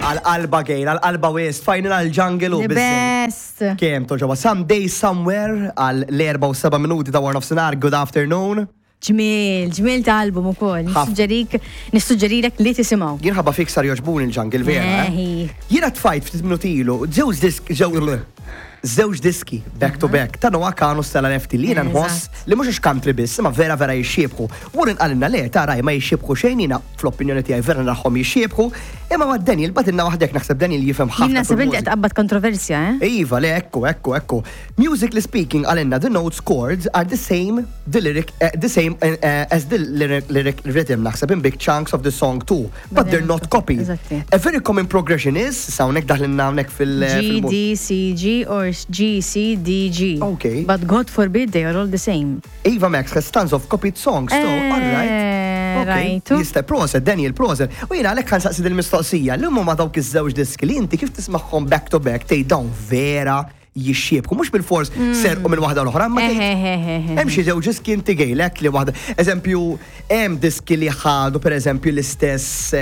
Għal-qalba gejn, għal-qalba wis, final għal-jungle u The best. Kem toġoba, someday somewhere għal l-4 u 7 minuti ta' war nofsinhar, good afternoon. Ġmiel, ġmiel ta' album ukoll. Nissuġġerik, nissuġġerilek li tisimgħu. Jien ħabba fik sar joġbuni l-jungle vera. Eh? Jiena tfajt ftit minuti ilu, żewġ disk, żewġ diski back to back ta' Noah Khan u Stella Lefty li jiena nħoss li mhux country biss, imma vera vera jixxiebħu. Warren qalilna le, ta' raj ma jixxiebħu xejn, jiena fl-opinjoni tiegħi vera narahom jixxiebħu, imma ma' Daniel bagħtilna waħdek, naħseb Daniel jifhem ħafna. Jien naħseb inti qed tqabbad kontroversja, eh? Iva, le, ekku, ekku, ekku. Musically speaking, qalilna the notes chords are the same, the lyric, the same as the lyric, lyric rhythm, naħseb in big chunks of the song too, but they're not copied. A very common progression is, hawnhekk daħlilna hawnhekk fil- G, D, C, G or G, C, D, G. Okay. But God forbid they are all the same. Ava Max has tons of copied songs, so, all right. Okay. Rajtu. Jista' proset, Daniel, proset. U jiena għalhekk ħa nsaqsi dil-mistoqsija, li huma dawk iż-żewġ diski li inti kif tismagħhom back to back tgħid dawn vera jixxiebħu, mhux bil-fors serqu minn waħda l-oħra, ma tgħid hemm xi żewġ diski inti gejlek li waħda. Eżempju, hemm diski li ħadu pereżempju l-istess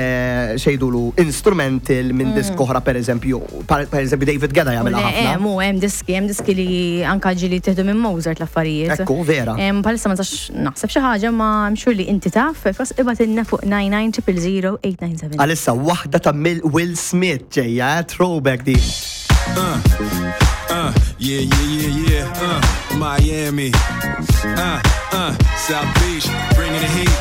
xejdulu instrumental minn disk oħra pereżempju, per eżempju David Guetta jagħmilha ħafna. Mu hemm diski li anka ġili tieħdu minn Mozart l-affarijiet. Ekku, vera. Bħalissa ma nistax naħseb xi ħaġa ma I'm sure li inti taf, fos ibgħatilna fuq 99 897. Għalissa waħda ta' Will Smith ġejja, throwback di. Yeah, Miami. South Beach, bringing the heat.